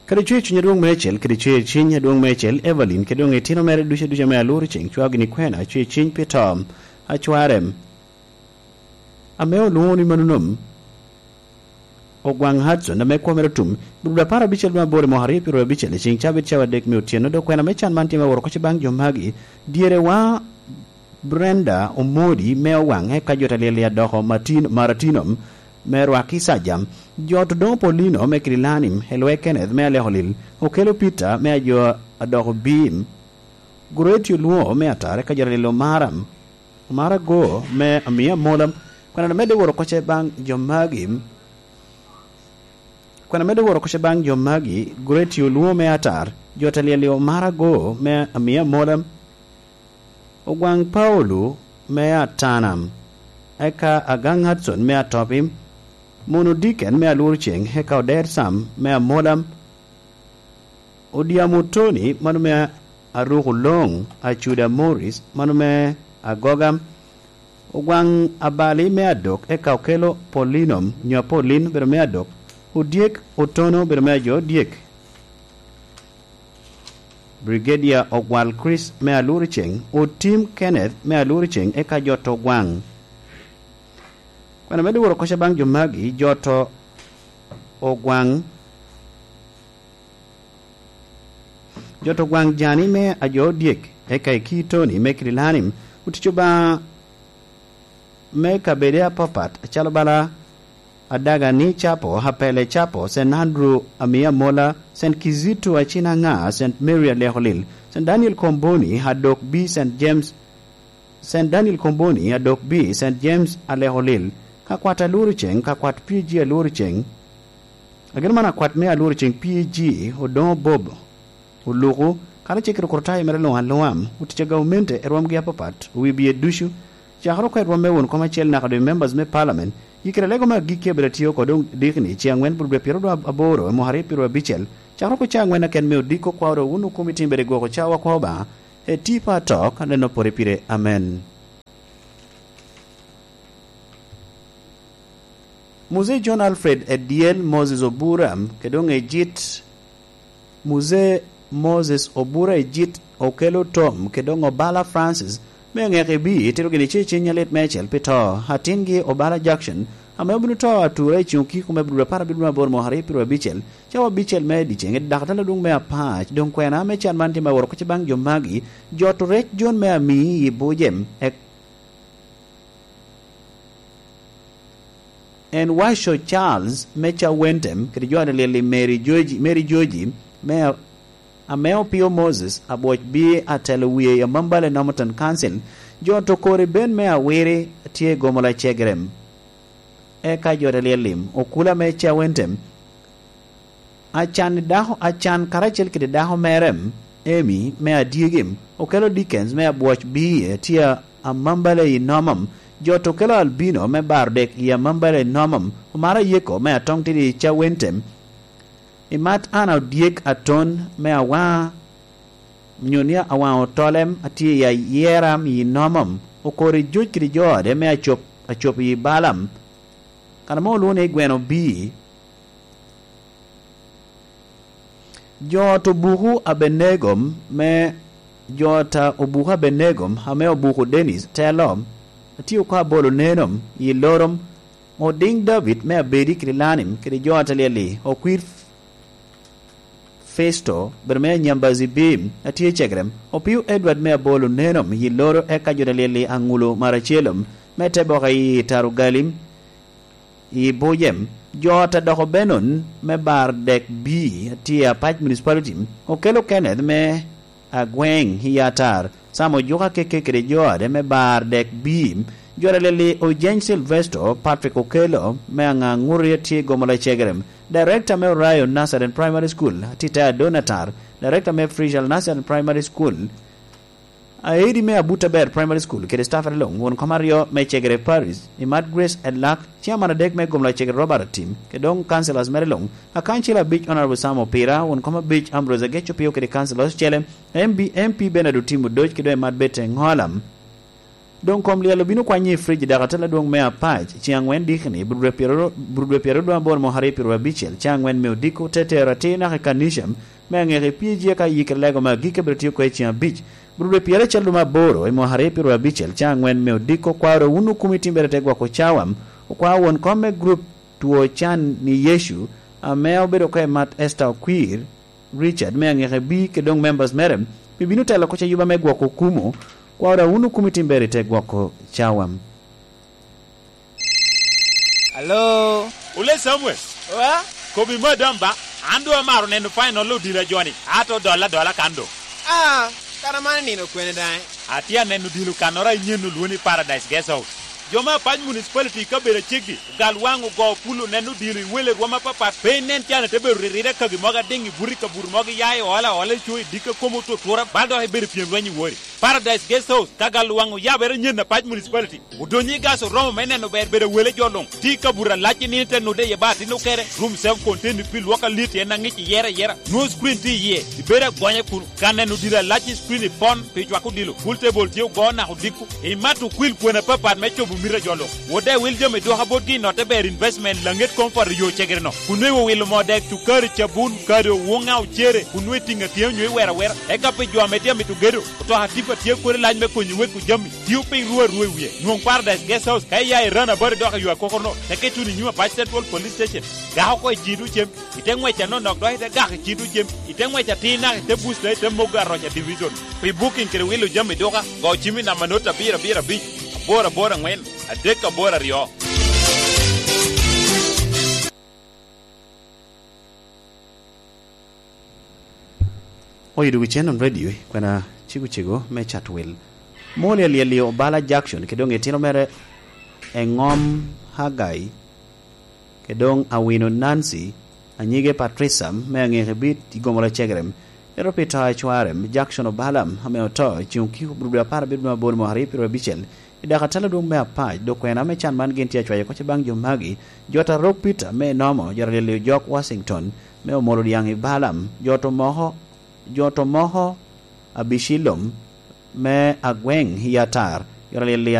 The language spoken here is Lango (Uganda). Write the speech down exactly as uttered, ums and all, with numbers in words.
Kadi cwer cwiny adwoŋ meicel, kadi cwer cwiny adwoŋ meicel, Evelyn, kadi doŋ itino mere ducu aduca ame aluro ceŋ, cwao gini kwena, cwer cwiny pi to, acwarem. Ame olwoŋo ni mano nom, Ogwaŋ Hudson, ame kwo mere otum, bur apar abicel me aboro i mwaka aryo pyeraryo abicel, i ceŋ cabit cawa adek me otyeno, dok kwena me can man tye me woro kocce baŋ jo magi, dyerewa Brenda Omodi me Owaŋ, eka jo ta lyel i adoko Martin-, Maratino me Rwaki Saja, jo to doŋ Paulino me Kirilanim, Elwe Kenneth me Aleko Lil, Okelo Peter me ajo adoko Bim, Gureti Olwoŋo me Atar, eka jo ta lyel Omara, Omara Go me Amia Mola, kwena medde woro kocce baŋ jo magi, kwena medde woro kocce baŋ jo magi, Gureti Olwoŋo me Atar, jo ta lyel Omara Go me Amia Mola, Ogwaŋ Paulo me Atanam, eka Agaŋ Hudson me Atopi, Mono Diken me Alwor Ceŋ, eka Oder Sam me Amolam, Odyamo Tony, mano me Aruko Loŋ, Acuda Morris, mano me Agoga, Ogwaŋ Abali me Adok, eka Okelo Polinom, nyo Apolin, obedo me Adok, Odyek Otono, obedo me ajo Odyek. Brigadier Ogwal Chris me Aluriceng, Otim Kenneth me Aluriceng, eka jo to Ogwaŋ. Kwena medde woro kocca baŋ jo magi, jo to Ogwaŋ, jo to Ogwaŋ Jani me ajo Odyek, eka Eki Tony me Kirilanim, otic Obaŋa me kabede apapat, acalo bala Adagani Capo, Apele Capo, Saint Andrew Amia Mola, Saint Kizito Acinaŋa, Saint Mary Alekolil, Saint Daniel Komboni, Adok B, Saint James, Saint Daniel Komboni, Adok B, Saint James Alekolil, ka kwat Alworo Ceŋ, ka kwat P G Alworo Ceŋ. Ageno man akwat me Alworo Ceŋ P G, Odoŋo Bob. Oluku, karacel kede okrutayo mere luŋ aluŋa, otic a gaumente i rwomgi apapat, owi bye ducu, cakere oko i rwom me won kom acel naka doŋ i members me parliament, i kare a lego me agikki a bedo atye oko doŋ dikni, ce aŋwen bur dwe pyeraryo aboro i mwaka aryo pyeraryo abicel, cakere oko ca aŋwen aken me odiko kwao doŋ wun okomi tim bedo i gwoko cawa kwao Obaŋa, e tipo atok, aneno pore pire. Amen. Muzee John Alfred Ediel, Moses Obura, kede doŋ Ejit, Muzee Moses Obura Ejit, Okelo Tom, kede doŋ Obala Francis, me aŋeke bi, tito gini ce cen nyalit meicel pi to, atingi Obala Jackson, ame obino to atura i ceŋ okiko me bur apar abiro aboro mwaka aryo pyeraryo abicel, cawa abicel me dyeceŋ, i dakatala adwoŋ me Apac, doŋ kwena me can man tye me woro kocce baŋ jo magi, jo to rec John me Amii i Bujem, ek-, En Waco Charles me Cawentem kede jo a lyel i Mary Joji, Mary Joji me a-, ame Opio Moses, Abwoc Bie, atelo wie i Amambale Normanton Council, jo to kori ben me Awiri tye i Gomola Cegerem. Eka jo a lyel lim, Okula me Cawentem, Acan i dako, Acan karacel kede dako mere, Amy me Adyegi, Okelo Dickens me Abwoc Bie, tye Amambale i Nomam, jo to Okelo Albino me Baro Dek i Amambale i Nomam, Omara Yeko me Atoŋ Tidi i Cawentem, Imat Ana Odyek Aton me Awaŋa, nyo ni Awaŋa Otolem, atye i Ayeram i Nomam, Okori Joc kede jo ode me Acop, Acop i Balam, kan ame olwoŋo ni Gweno Bii. Jo ot Obuku Abenego me, jo ot a Obuku Abenego ame Obuku Dennis telo, atye oko abolo neno i Lorom, Odiŋ David me Abedi kede Lanim kede jo ot a lyel-li, Okwir Festo, bedo me Nyambazi Bim, atye Cegerem, Opio Edward me Abolo neno i Loro, eka jo ot a lyel-li Aŋulo Maracelom me te boka i Tarugalim, i Bujem, jo ot a doko Benon me Bar Dek Bii, atye Apac Municipality, Okelo Kenneth me Agweŋ i Atar, Sam Ojuka Keke kede jo ode me Bar Dek Bii, jo ot a lyel-li Ojeny Silvesto, Patrick Okelo me Aŋaŋuri, atye Gomola Cegerem, Director me Orion Nursery and Primary School, atye Ado Natar, Director me Frishal Nursery and Primary School, Aedi me Abuta Ber Primary School kede staff ate luŋ, won kom aryo me Cegere Parish, Imat Grace Elak, Chairman adek me Gomla Cegere Robert Atim, kede doŋ councillors mere luŋ, akancil abic Honorable Sam Opira, won kom abic Ambrose Ageco Pio kede councillors ocele, M B, M P Bernard Otim Odoc kede doŋ Imat Bete Ŋolam. Doŋ kom lyel obino kwanye i frij i dakatela adwoŋ me Apac, ceŋ aŋwen dikini, burudwe pyeraryo dwe aboro mwaka aryo pyeraryo abicel, ceŋ aŋwen me odiko, te tero atir naka i kanica me aŋeka i P G eka yikere lego me agikki abiro tio oko i ceŋ abic. Burudwe pyeracel dwe me aboro i mwaka aryo pyeraryo abicel, ceŋ aŋwen me odiko, kwaro wun okumi timbere te gwoko cawa, okwao won kom me grup two can ni Yecu, ame obedo oko i mat Esther Okwir, Richard me aŋeka bi kede doŋ members mere, pi bino telo oko ca yuba me gwoko okumu, kwaro wun okumi timbere te gwoko cawa. Alo? Ole Samuel. Wa? Kobi madam ba, an doŋ amaro neno final odilo a joni, ato dola dola kan doŋ. Ah, kara man nino kwene daŋ? Atye aneno odilo kannoro a inyen olwoni Paradise Guest House. Jo me Apac Municipality i kabedo aceggi, ogal waŋ ogo pul oneno odilo i wele rwom apapat, pe inen can ite bedo ririre kagi mogo adiŋ i buto i kabuto mogo iya i ola ola i co i dikka komo otutura, bal dok ibedo i pyem lweny i wori. Paradise Guest House, ka gal waŋ oyabere nyen Apac Municipality. Odonyo i gas oromo me neno ber bedo wele jo luŋ. Tye i kabuto alac i nino te nude iye ba atin okere. Room self contained pi lwok alit en aŋic iyere ayera. Nwoŋo screen tye iye. Ibedo agonya kun ka neno odilo alac i screen i pon pi cwako odilo. Pool table tye ogo naka odiko. Imato okwil kwena apapat me cobo mito a jo luŋ. Wode wil jami dwoka botgi i notte ber investment laŋet comfort i yo cegere no. Kun nwoŋo iwilo moo dek, cukari, cabun, kado, wuŋa, ocere, kun nwoŋo itiŋo atiŋa onyo iwero awera. Eka pi jo ame tye amito gedo, otoka tipa tye kodi lac me konyo weko jami. Tio piny ru arua i wie. Nwoŋ Paradise Guest House ka iya i Rana Bari dok i yo akokono, te keto wunu i nyim Apac Central Police Station. Gak oko i ciŋ tucem, ite ŋwec anonok dok ite gak i ciŋ tucem, ite ŋwec atir naka ite busta ite mogo aroca division. Pi booking kede wilo jami duka, go cim i namba not abiro abiro abic, aboro aboro aŋwen, adek aboro aryo. Oyo dwogo cen on radio, kwena cego cego me Chatwel. Moli alyel i Obala Jackson, kede doŋ itino mere Eŋom Hagai, kede doŋ Awino Nancy, anyige Patricia, me aŋeke bit i Gomora Cegerem. Ento pi to a cware, Jackson Obala, ame oto, i ceŋ okiko, burubdo apar abiro dwe aboro mwaka aryo pyeraryo abicel, I dok atalo dwoŋ me apac, dok kwena me can man gin tye acwayo kocce baŋ jo magi, Jot Arok Peter me Enomo, Jot Alyel Ojok Washington me Omoro Dyaŋ i Balaam, Jot Omoko, Jot Omoko Abicilom me Agweŋ i Atar, Jot Alyel